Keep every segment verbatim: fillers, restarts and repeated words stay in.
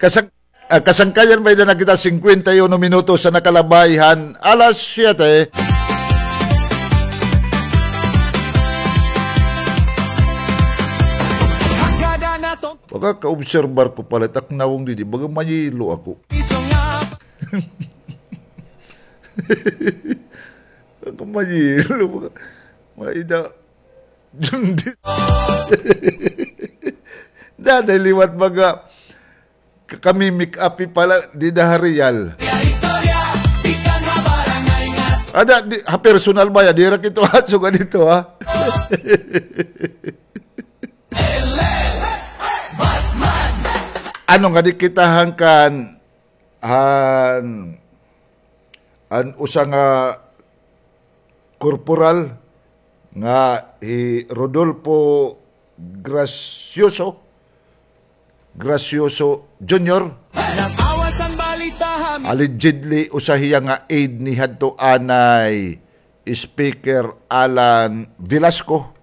Kasang-, ah, kasangkayan, may-ada na kita singkwenta y uno minutos an nakalabay han alas siyete. Makakaobserbar ko pala, taknawong didi, baga mayelo ako. Baga mayelo, baga, may-ada. Daday liwat mga ka-, kami make-up pala, dida ha real. Ada, di, ha personal ba ya? Dira kito aso ka dito, ha? Ano nga di kita hangkan, han, an usa nga korporal nga hi Rodolfo Gracioso, Gracioso Junior. Allegedly, usa hiya nga aide ni hadto anay Speaker Alan Velasco.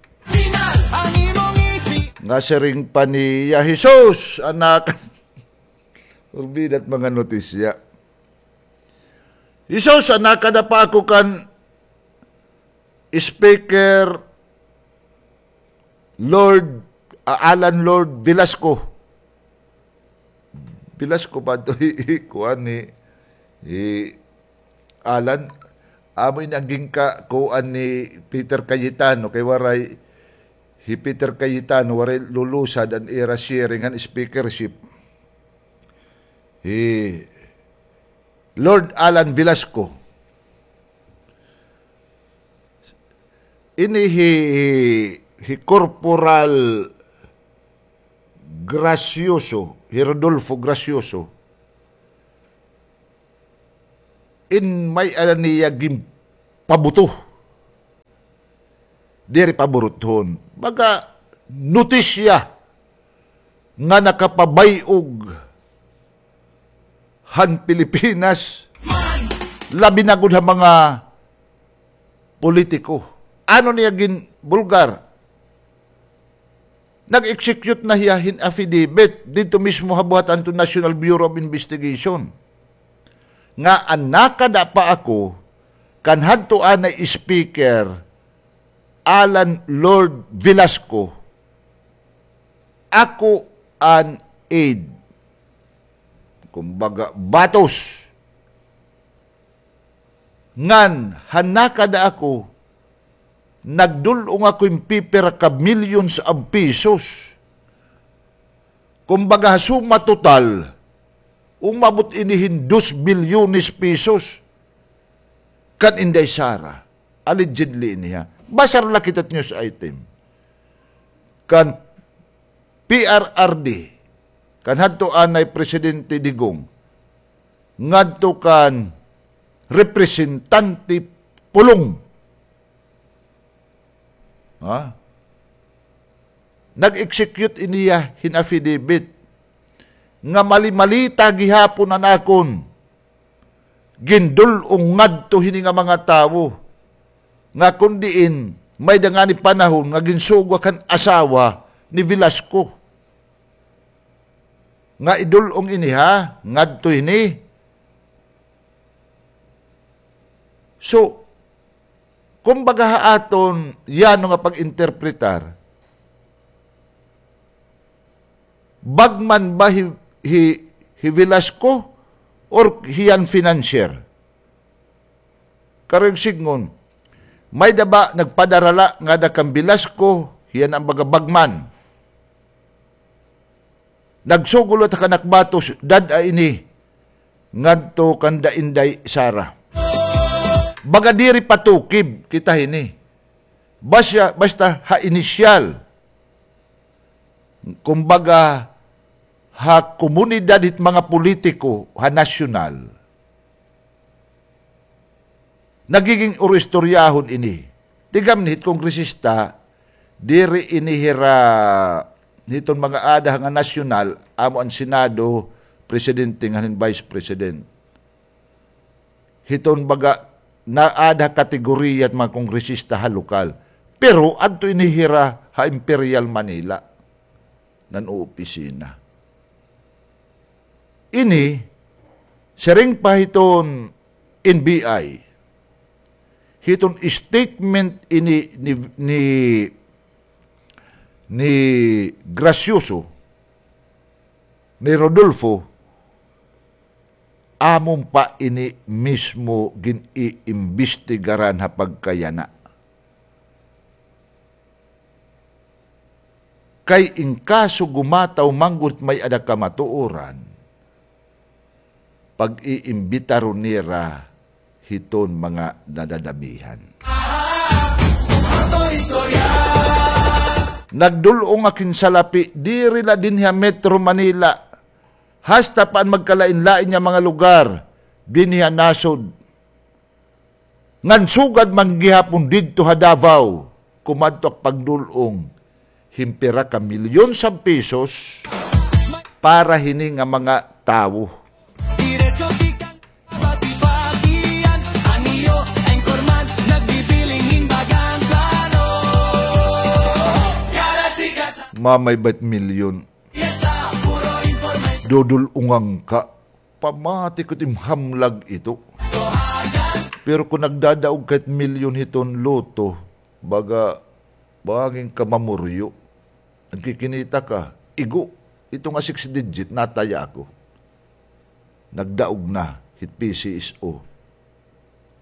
Nga siring pa niya, "Jesus, anak." Urbida it mga notisya. "Jesus, anak, kada pa ako kan Speaker Lord, ah, Alan Lord Velasco." Velasco ba to? Hi, hi, kuan ni, hi Alan. Amo ini an ginka-, kuan ni Peter Cayetano, kay waray hi Peter Cayetano, waray lulusad an ira sharing han speakership. Hi Lord Alan Velasco. Ini hi, hi, hi Corporal Gracioso, hi Rodolfo Gracioso. In may-ada niya ginpabuto. Diri paburuthon. Baga notisya nga nakapabay-og han Pilipinas, labi na gud ha mga politiko. Ano niya ginbulgar? Nag-execute na hiya hin affidavit didto mismo ha buhatan to National Bureau of Investigation. Nga an nakada pa ako kan hadto anay Speaker Alan Lord Velasco, ako an aide. Kumbaga, batos. Ngan, han nakada ako, nagdul-ong ako hin pipira ka millions of pesos. Kumbaga, ha suma total, umabot ini hin dos bilyones pesos. Kan Inday Sara, allegedly ini ha. Basar la kita news item. Kan P R R D, kan hadto anay Presidente Digong, ngadto kan Representante Pulong. Ha? Nag-execute ini hiya hin affidavit nga mali-malita gihapon an akon gindul-ong ngadto hini nga mga tawo nga kon diin may-ada ngani panahon nga ginsugwak han asawa ni Velasco. Nga idul-ong ini ha, ngadto hini. So, kumbaga ha aton yano nga pag-interpretar, bagman ba hi, hi, hi Velasco or hiya an financier? Karuyag sidngon, may-ada ba nagpadara la ngada kan Velasco, hiya an baga bagman. Nagsugol la ta kan ak batos, dad-a ini ngadto kanda Inday Sara. Baga diri patukib kita hini. Basta, basta ha inisyal. Kumbaga, ha komunidad hit mga politiko, ha nasyonal. Nagiging uro-istoryahon ini. Tigam ni hit kongresista, diri ini hira hiton mga aada nga nasyonal, amo an Senado, presidente ngan hin vice president. Hiton baga naada kategoriya hit mga kongresista ha lokal. Pero adto ini hira ha Imperial Manila. Nan opisina. Ini, siring pa hiton N B I, hiton statement ini ni, ni, ni Gracioso, ni Rodolfo, amon pa ini mismo gin-iimbestigaran ha pagkayana. Kay in kaso gumataw man gud may-ada kamatuoran, pag-iimbitaron nira hiton mga nadadamihan. Nagdul-ong ak hin salapi, diri la dinhi ha Metro Manila, hasta pa an magkalain-lain nga mga lugar dinhi ha nasod. Ngan sugad man gihapon didto ha Davao, kumadto ak pagdul-ong hin pira ka milyon sa pesos para hini nga mga tawo. Mamay bayt milyon. Dudul-ongan ka. Pamati ko it im hamlag ito. Pero kon nagdadaog ka hit milyon hiton lotto, baga, bangin ka mamuryo. Nagkikinita ka, igo, ito nga six digit, nataya ako. Nagdaog na, hit P C S O.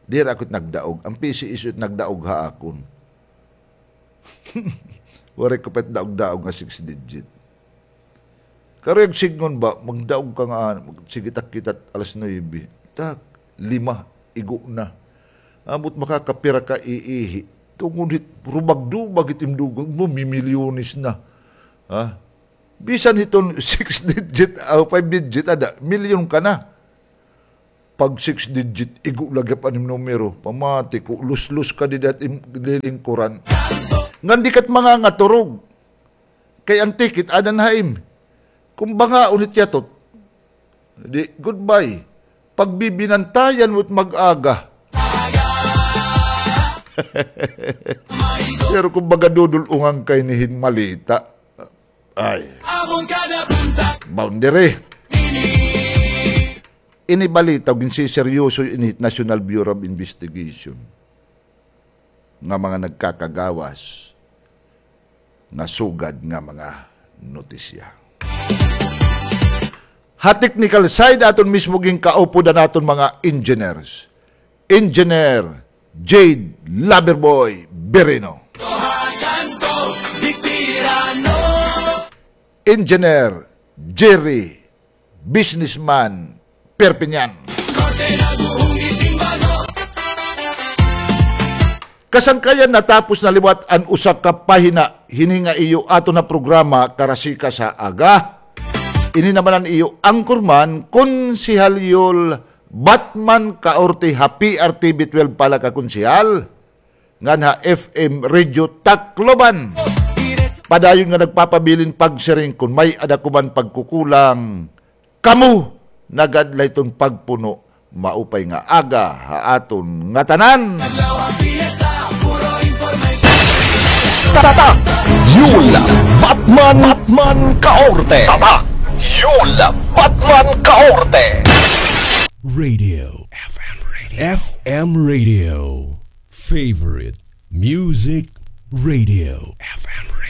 Diri ako it nagdaog, an P C S O it nagdaog ha akon. Waray ko pa it daog-daog nga six digit. Karuyag sidngon ba, magdaog ka nga, sige, tak kita alas nuebe. Tak, lima, igo na. Ambot makakapira ka iihi. Tungod hit, rubag-dubag hit im dugay, mo, mimilyones na. Ha? Bisan hiton six digit, ah, five digit, ada, milyon ka na. Pag six digit, igo la gihap an im numero. Pamati ko, luslos ka dida hit im lilingkuran. Ngan di ka it mangangaturog. Kay an ticket, ada na ha im. Kon bangaon hit yatot, di, goodbye. Pagbibinantayan mo it mag-aga. Pero kon baga dudul-ongan ka hini hin malita, ay. Boundary. Ini balita, ginsiseryoso ini National Bureau of Investigation nga mga nagkakagawas nga sugad nga mga notisya. Ha technical side, aton mismo ginkaupodan aton mga engineers. Engineer Jade Loverboy Birino. Engineer Jerry Businessman Perpignan. Kasangkayan, natapos na liwat an usa ka pahina hini nga iyo aton nga programa, Karasikas ha Aga. Ini naman an iyo anchorman, Konsehal Yul Batman Kaorte, ha P R T V twelve pala ka konsehal, ngan ha F M Radio Tacloban. Padayon nga nagpapabilin pagsiring, kon may-ada ko man pagkukulang, kamo na gad la iton pagpuno. Maupay nga aga ha aton ngatanan. Tatak Yul Batman, Batman Kaorte. Tatak Yul Batman Kaorte. Radio F M Radio. F M Radio. Favorite Music Radio. F M Radio.